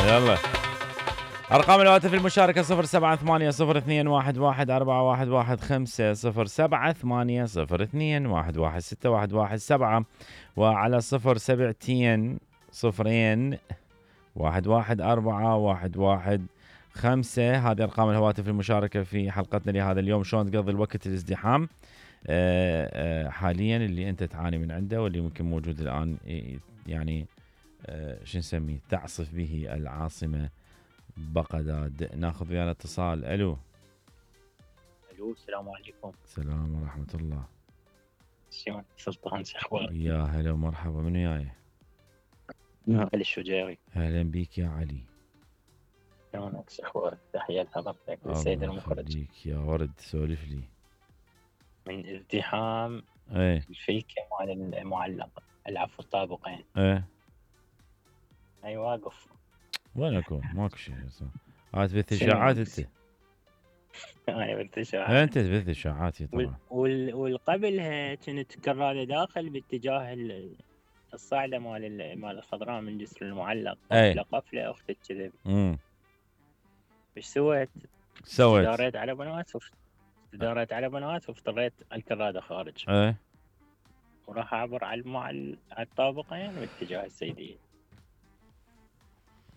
يلا أرقام الهواتف المشاركة 0780211415 0780211617 وعلى 072011415. هذه أرقام الهواتف المشاركة في حلقتنا لهذا اليوم. شلون تقضي الوقت الازدحام حاليا اللي أنت تعاني من عنده واللي ممكن موجود الآن، يعني شو نسميه، تعصف به العاصمة بغداد. ناخذ ويانا اتصال. الو السلام عليكم. السلام ورحمة الله. شلون سلطان، شو اخبارك؟ يا هلا ومرحبا، من وياي؟ علي الشجيري. اهلا بيك يا علي. شلونك، شو اخبارك؟ تحية لحضرتك والسيد المخرج. الله يخليك يا ورد، سولف لي. من ازدحام الفيكة مال المعلق، العفو الطابقين. اي واقف. وين اكون؟ ماكو شيء. هات تبث اشاعات انت. انا بث اشاعات. انت تبث اشاعات طبعا. والقبلها كنت كراده داخل باتجاه الصعده مال الخضراء من جسر المعلق. قفله اختك كذب. ايش سويت؟ داريت على بنات وافتريت الكراده خارج. وراح اعبر على الطابقين باتجاه السيديه.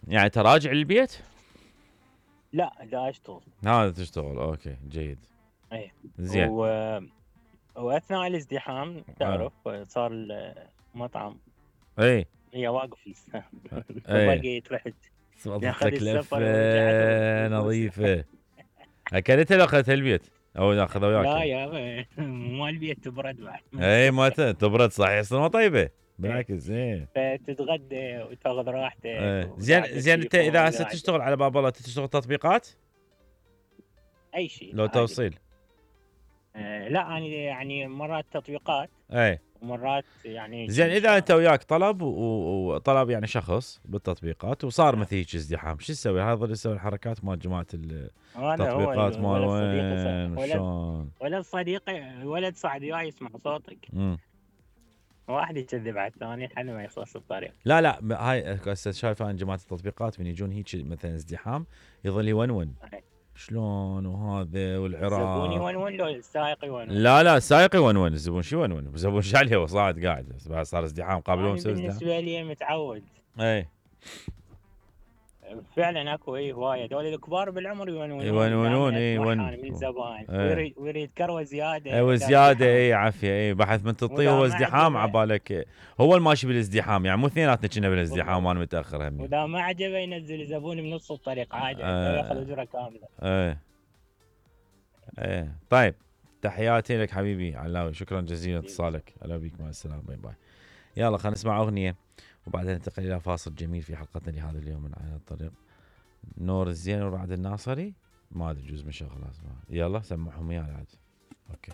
يعني تراجع للبيت؟ لا، دا اشتغل. هذا تشتغل. اوكي جيد. اي زين. واثناء الازدحام تعرف صار المطعم هي واقف لسه. بقيت رحت اخذت لفه نظيفه. اكلتها لو اخذتها البيت او اخذها وياك؟ لا يا مو البيت تبرد بعد. اي ما تبرد صحيح، يصير ما طيبه بالعكس. فتتغدى وتاخذ راحتك. زين انت اذا هسه تشتغل على باب الله تشتغل تطبيقات؟ اي شيء لو توصيل؟ لا انا يعني مرات تطبيقات ومرات يعني. زين اذا انت وياك طلب وطلب يعني شخص بالتطبيقات وصار مثل هيك ازدحام، شو تسوي؟ هذا اللي يسوي الحركات مال جماعه التطبيقات مال وين شلون؟ ولد صديقي ولد صعد وياي يسمع صوتك. واحد يكذب على الثاني لحد ما يخلص الطريق. لا هاي هسه شايف انا جماعه التطبيقات من يجون هيك مثلا ازدحام يظل يونون شلون وهذا والعراق. الزبون يونون لو السائق يونون؟ لا السائق يونون، الزبون شو يونون؟ الزبون شو عليه وصاعد قاعد بس صار ازدحام قبل يوم مسوي ازدحام. بالنسبه لي متعود. فعلا اكو هوايه دول الكبار بالعمر يونون من الزبائن ويريد كروه زياده وزياده. عافيه. بحث من تطيه هو ازدحام عبالك هو الماشي بالازدحام، يعني مو اثنيناتنا كنا بالازدحام وانا متاخر همي. واذا ما عجبه ينزل زبون بنص الطريق عادي ياخذ اجره كامله. طيب تحياتي لك حبيبي علاوي، شكرا جزيلا اتصالك. هلا بيك، مع السلامه، باي باي. يلا خلينا نسمع اغنيه وبعدين ننتقل الى فاصل جميل في حلقتنا لهذا اليوم من على الطريق. نور الزين ورعد الناصري ما ادري جزء من شغله. يلا سمعهم يا عاد. اوكي